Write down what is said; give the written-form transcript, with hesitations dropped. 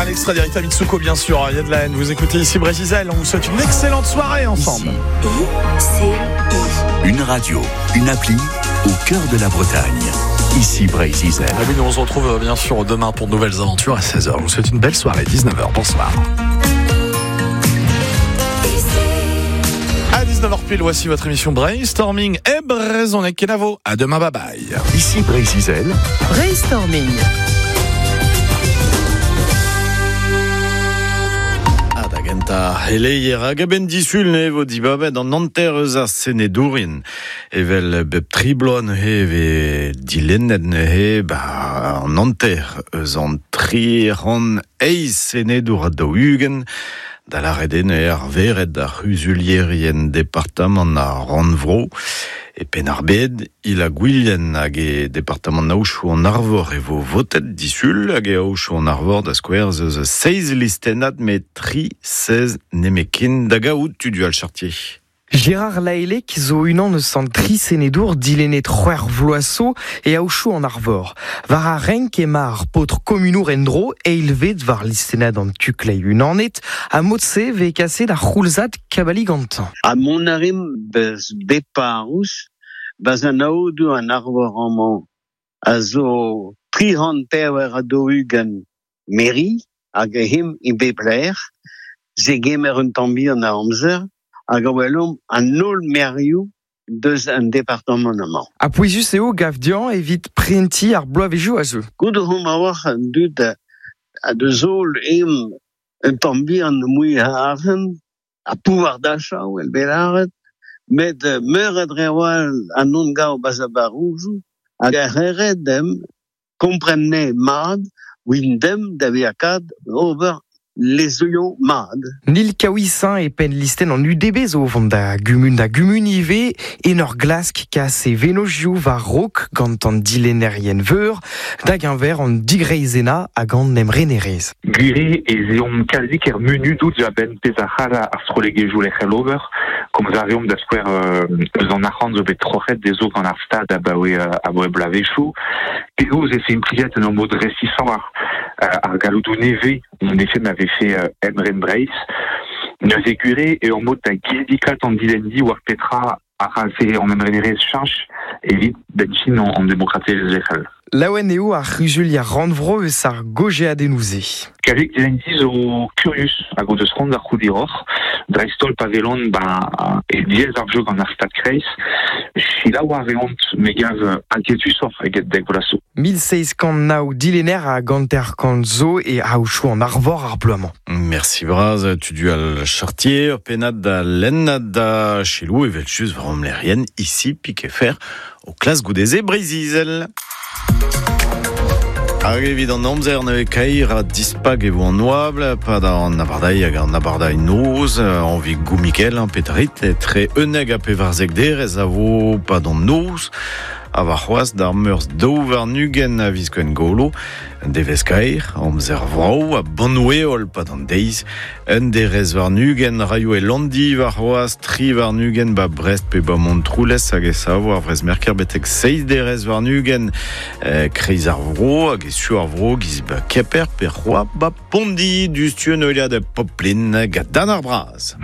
Un extrait d'Erita Mitsuko, bien sûr. Il y a de la haine. Vous écoutez ici Brésil. On vous souhaite une excellente soirée ensemble. I, C, I. Une radio, une appli au cœur de la Bretagne. Ici Brésil. Ah oui, nous on se retrouve bien sûr demain pour de nouvelles aventures à 16h. Je vous souhaite une belle soirée, 19h. Bonsoir. À 19h pile, voici votre émission Brainstorming et Brezhoneg Kenavo. À demain, bye bye. Ici Brésil. Brainstorming. Ah, da genta heleier hag a-benn disul ne vo dibabet an hanter eus ar senedourien. Evel bep tri bloaz neuze ve dilennet neuze ba an hanter eus an tri c'hant eizh senedour ha daou-ugent. Da lâret eo neuze ar vered ar c'huzulierien departamant ar rannvro. E Penn-ar-Bed, il a Gwilhen hag e departamant Aochou an Arvor e vo votet disul hag e Aochou an Arvor da skouer eus seiz listennad met tri seiz nemetken da gaout Tudual Chartier. Gérard Laelec zo unan eus an tri senedour dilennet c'hwec'h vloaz zo e Aochou an Arvor. War ar renk ema ar paotr komunour en-dro eilvet war listennad an tuklei unanet ha mod-se vez kaset ar c'houlzad kabali gantañ. Ha mont a rimp beus bep parrouz, bas an aodoù an Arvor amañ a zo 300 ha daou-ugent meri hag him e bep lec'h, se gemer un tamm bihan a amzer hag a welomp an holl merioù deus an departamant amañ. Ha pouezus eo gav dezhañ evit prentiñ ar bloavezhioù a zeu. Goude omp a-walc'h an dud a deus holl em un tamm bihan mui a arc'hant, a pouvoir d'achat el bet lâret, met meur a dre a-walc'h an on gav bas a barouzoù hag ar c'hered dem kompren ne mat win dem da vezañ kad ober lezennoù mat. Nil Kaouisin e penn listenn an UDB zo vont da gumun da gumun ivez en ur glask kas e venozioù war raok gant an dilennerien veur da geñver an digreizena hag an emrenerezh. Gwir ez eomp kalzik er munudoù a-benn pezh a c'hall ar strollegezhioù lec'hel ober, komz a reomp da skouer eus an arc'hant zo bet troc'het dezho gant ar stad abaoe abaoe bloavezhioù. Penaos e se implijet en ur mod resisoc'h ar galloudoù nevez en effet ma vefe emren Breizh. Neuze gwir eo ur mod da gizidikat an dilenndi war petra a c'hallfe an emrenerezh cheñch evit benn an demokratelezh lec'hel. Laouen eo ar c'huzulier rannvro eus ar gojeadennoù-se. Kalzik dilenndi zo kurius hag o deus c'hoant da c'hoût hiroc'h. Dreist-holl pa welont ba e diaes ar jeu gant ar stad kreiz. Selaou a reont me gav inquietusoc'h eget dek vloaz zo. 1709 dilenner hag hanter-kant zo e Aochou an Arvor ar bloaz-mañ. Merci bras, Tudual Chartier, ur pennad da lenn da selaou evel just war amlerien ici Piquefer o klas goudeze Breizh-Izel. Hag evit an amzer neuze kaer ha dispak e vo an oabl, pad an abardailh hag an abardailh noz, anvi goumikel, petrit, etre unnek ha pevarzek derez a vo pad an noz, ha war c'hoazh d'ar meurzh daou warn-ugent a viz Gwengolo, devezh kaer, amzer vrav ha bannoù-heol pad an deiz, un derez warn-ugent raio e Landi war c'hoazh, tri warn-ugent ba Brest pe ba Montroulez hag e savo ar Vrezmerker betek seizh derez warn-ugent kreiz ar vro hag e su ar vro giz ba Kemper pe c'hoazh ba Pondi, diouzhtu un heuliad Poplin gant Dan ar Braz.